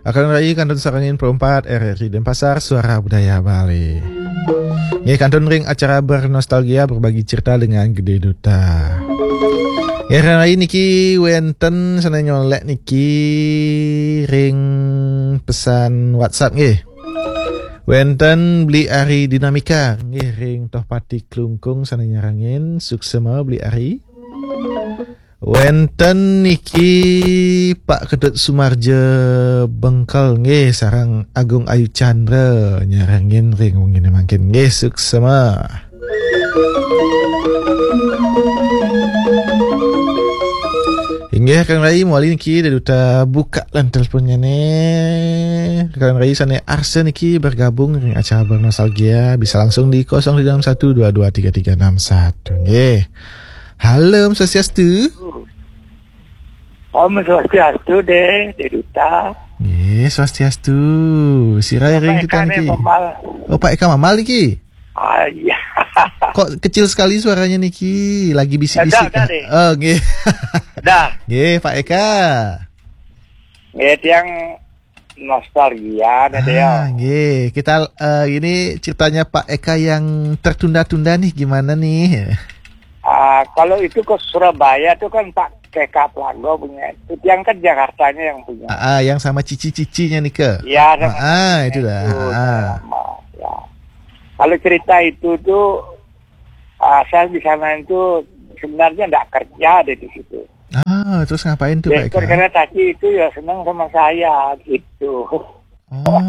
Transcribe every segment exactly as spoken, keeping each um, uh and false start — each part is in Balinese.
Akan Rai kantun sareng Pro empat R R I Denpasar, Suara Budaya Bali. Nggih, kantun ring acara bernostalgia, berbagi cerita dengan Gede Duta. Nggih, Akan Rai niki wenten sane nyolek niki ring pesan WhatsApp nggih. Wenten Bli Ari Dinamika nggih ring Tohpati Klungkung sane nyarengin, suksema Bli Ari. Wenten niki Pak Ketut Sumarja Bengkel nggih sareng Agung Ayu Chandra nyarengin ring wengine mangkin nggih, suksema. Inggih, Kang Rai, mawali niki Gede Duta buka lan teleponnya ne. Kang Rai sane arsa niki bergabung ring acara bernostalgia bisa langsung di kosong tiga enam satu dua dua tiga tiga enam satu nggih. Halo, Om Swastiastu. Om Swastiastu, Gede Duta. Nggih, Swastiastu. Sira ring kita niki. Mamal. Oh, Pak Eka Mamal niki. Ah, iya. Kok kecil sekali suaranya niki? Lagi bisik-bisik. Dah, dah, kah? Deh. Oh, nggih. Dah. Nggih, Pak Eka. Nggih, tiang nostalgia, dah, ah, ya. Nggih. Kita, eh, ini ceritanya Pak Eka yang tertunda-tunda nih, gimana nih? Ah, kalau itu ke Surabaya tuh kan Pak K K Plago punya. Itu tiang kan Jakartanya yang punya. Ah, ah, yang sama cici-cicinya nih ke? Iya, sama, ah, ah, itu dah. Itu, ah, sama, ya. Kalau cerita itu tuh, ah, saya di sana itu sebenarnya nggak kerja deh di situ. Ah, terus ngapain tuh, Pak Eka? Direktur kereta api itu ya senang sama saya gitu. Oh.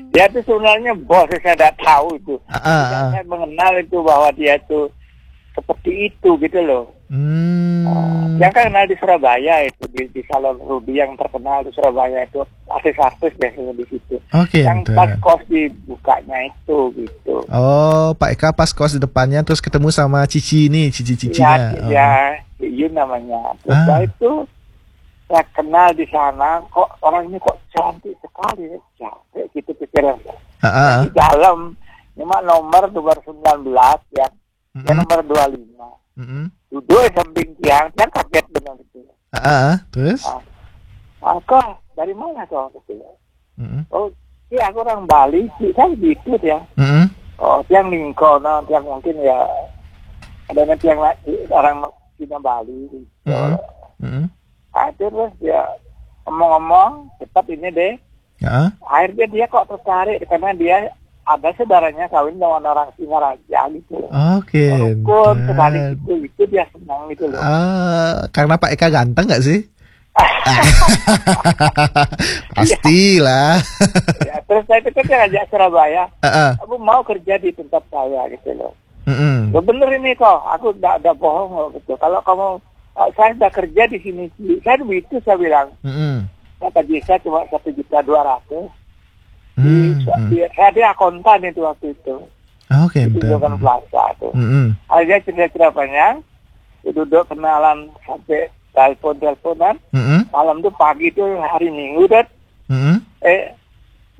Dia tuh sebenarnya bos, saya nggak tahu itu. Ah, ah, ah. Saya mengenal itu bahwa dia tuh seperti itu gitu loh. Hmm. Ah, yang kan kenal di Surabaya itu, di, di Salon Rudy yang terkenal di Surabaya itu, artis-artis biasanya di situ. Oke, yang pas kos dibukanya itu gitu. Oh, Pak Eka pas kos di depannya terus ketemu sama Cici ini, Cici-cicinya. Iya, oh. Ya, Yun namanya. Terus, ah, itu saya kenal di sana, kok orang ini kok cantik sekali, ya. Cantik gitu pikiran saya. Heeh. Di dalam, cuma nomor nomor sembilan belas ya. Ya, mm-mm, nomor dua lima. Mm-mm. Duduk di samping tiang, tiang kaget benar itu. Heeh, terus? Ah. Ah, kok dari mana kok gitu ya? Mm-mm. Oh, iya, aku orang Bali, Ci, kan gitu ya. Mm-mm. Oh, tiang lingko, nah, tiang mungkin ya, adanya tiang la-, orang Cina Bali gitu. Mm-mm. Mm-mm. Ah, terus dia ngomong-ngomong, cepat ini deh. Ya. Akhirnya dia kok tertarik karena dia ada saudaranya kawin dengan orang Singaraja gitu loh. Oke, rukun sekali gitu, itu dia senang gitu loh. Ah, karena Pak Eka ganteng nggak sih? Pastilah. Ya, terus saya pikir dia ngajak Surabaya. Heeh. Kamu mau kerja di tempat saya gitu loh. Mm-mm. Lo bener ini kok, aku nggak ada bohong kok gitu. Kalau kamu, eh, saya sudah kerja di sini, Ci. Saya begitu saya bilang. Mm-mm. Kata dia, saya cuma satu juta dua ratus. Di, hmm, hmm, di, saya di akuntan itu waktu itu. Oke, di Tunjungan Plaza tuh. Mm-mm. Akhirnya cerita-cerita panjang, duduk kenalan sampai telepon-teleponan. Mm-mm. Malam tuh, pagi tuh hari Minggu, Dad. Mm-mm. Eh,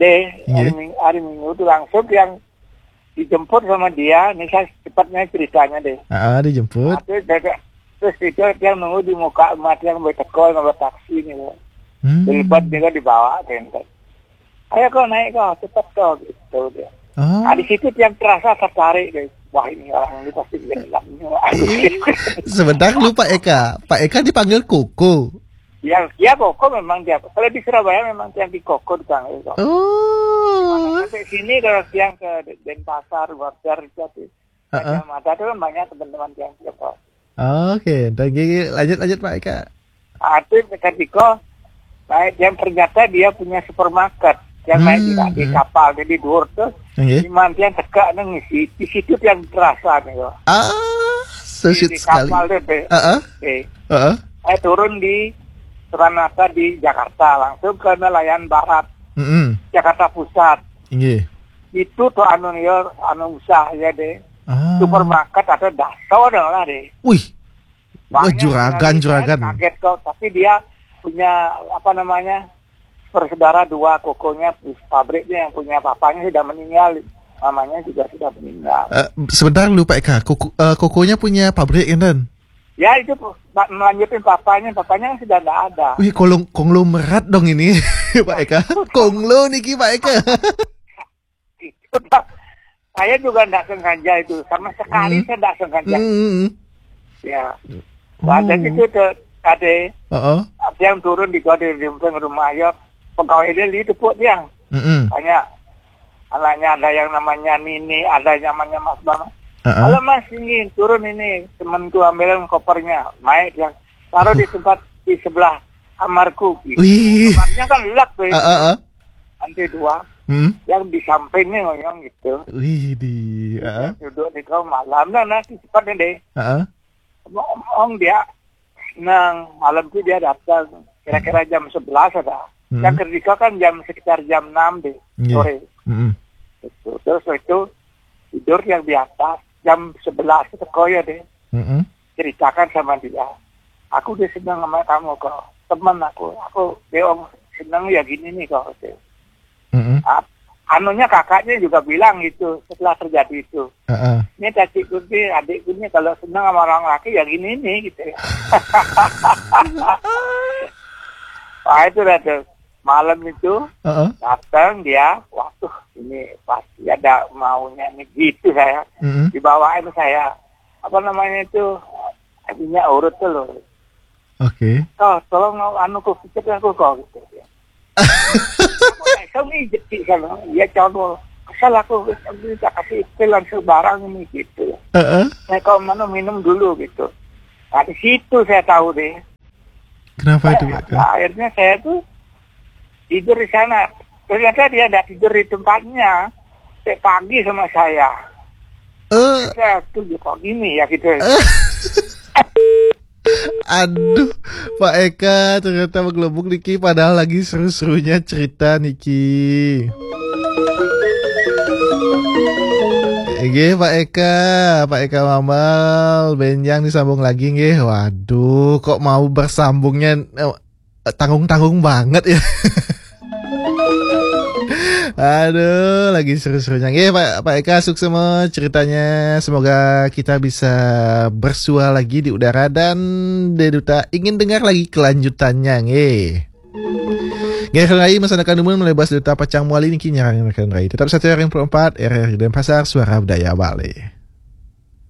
deh, hari, iya, Ming-, hari Minggu tuh langsung yang dijemput sama dia. Ini saya cepatnya ceritanya deh. Ah, dijemput. Nah, terus, dia, terus itu dia nunggu di muka rumah, dia nggak teko, nggak taksi nih, loh. Hmm. Terlibat dia dibawa ke Enten. "Ayo kau naik kau, cepat kau," gitu dia. Oh. Nah, di situ dia terasa tertarik deh. "Wah, ini orang ini pasti gila nih." Sebentar dulu, Pak Eka. Pak Eka dipanggil Koko. Ya, ya, Koko memang dia. Kalau di Surabaya memang tiang di Koko dipanggil kok. Oh. Sampai sini kalau tiang ke Denpasar, Banjar, itu, heeh, Gajah Mada itu kan banyak teman-teman tiang di Koko. Oke, ntar gigi lanjut, lanjut, Pak Eka. Ah, itu ketika naik, yang ternyata dia punya supermarket. Yang naik di, hmm, di, hmm, kapal, jadi dua ratus. Nggih. Di mana tiang tegak nang isi, di situ tiang terasa nih, kok. Ah, so sweet sekali. Di, di kapal deh, deh. Heeh. Eh. Heeh. Saya turun di Suranasa di Jakarta, langsung ke nelayan barat, mm-mm, Jakarta Pusat. Nggih. Itu tuh anu ya, anu usaha ya deh. Ah. Supermarket ada daso dong lah deh. Wih. Wah, banyak juragan, sekali. Saya juragan kaget kok, tapi dia punya, apa namanya, bersaudara dua, kokonya, pabriknya yang punya papanya sudah meninggal, mamanya juga sudah meninggal. Eh, sebentar dulu, Pak Eka. Koko, eh, kokonya punya pabrik, enten? Ya, itu, Pak, melanjutin papanya, papanya kan sudah nggak ada. Wih, kolong-, konglomerat dong ini. Pak Eka, konglo niki Pak Eka. Itu, Pak. Saya juga ndak sengaja itu, sama sekali Hmm. saya ndak sengaja. Hmm. Ya. Ada Oh. itu tuh, ada Heeh. ada yang turun di gua di samping rumah ya. Pegawai dia itu pun yang Mm-mm. banyak. Anaknya ada yang namanya Nini, ada yang namanya Mas Bama. Heeh. "Halo Mas, ini turun ini, temanku ambilin kopernya." Naik yang taruh di tempat di sebelah kamarku gitu. Wih. Kamarnya kan lelak tuh, Heeh. Heeh. lantai dua. Hmm. Yang di sampingnya ngoyong gitu. Wih di. Heeh. Duduk di kau malam lah, nanti cepatnya deh. Heeh. Ngomong dia, nang malam itu dia datang kira-kira jam sebelas ada. Hmm. Yang kerja kan jam sekitar jam enam deh Iya. sore. Mm-mm. Gitu. Terus itu tidur yang di atas jam sebelas itu koyo deh. Mm-mm. Ceritakan sama dia. "Aku udah seneng sama kamu kok. Temen aku. Aku dia seneng ya gini nih kok." Gitu. Mm-mm. Ah, anunya kakaknya juga bilang gitu setelah terjadi itu. Heeh. "Ini cacikku nih, adikku nih kalau seneng sama orang laki ya gini nih," gitu. Wah, itu dah tuh. Malam itu Heeh. datang dia, "Waduh, ini pasti ada maunya nih," gitu saya. Mm-mm. Dibawain saya apa namanya itu, minyak urut tuh loh. Oke. "Kau tolong anu kok pijat aku kok," gitu. "Aku nggak tahu nih jadi sana." Dia contoh, "Kesel aku, tak kasih pil langsung barang ini," gitu. Heeh. "Nah, kau mana minum dulu," gitu. Nah, di situ saya tahu deh. Kenapa itu Pak Eka? Nah, akhirnya saya tuh tidur di sana. Ternyata dia tidak tidur di tempatnya. Sampai pagi sama saya. Eh, Saya tuh kok gini ya gitu. Aduh, Pak Eka ternyata menggelembung niki padahal lagi seru-serunya cerita niki. Nggih, Pak Eka, Pak Eka Mambal, benjang disambung lagi nggih. Waduh, kok mau bersambungnya eh, tanggung-tanggung banget ya. Aduh, lagi seru-serunya. Nggih, Pak, Pak Eka, sukses semua ceritanya. Semoga kita bisa bersua lagi di udara dan Deduta ingin dengar lagi kelanjutannya, nggih. Nggih, Rai, masa akan dumun melebas Deduta Pacang Muali niki nyarang rekan Rai. Tetap satu R M empat, R R I Denpasar, Suara Budaya Bali.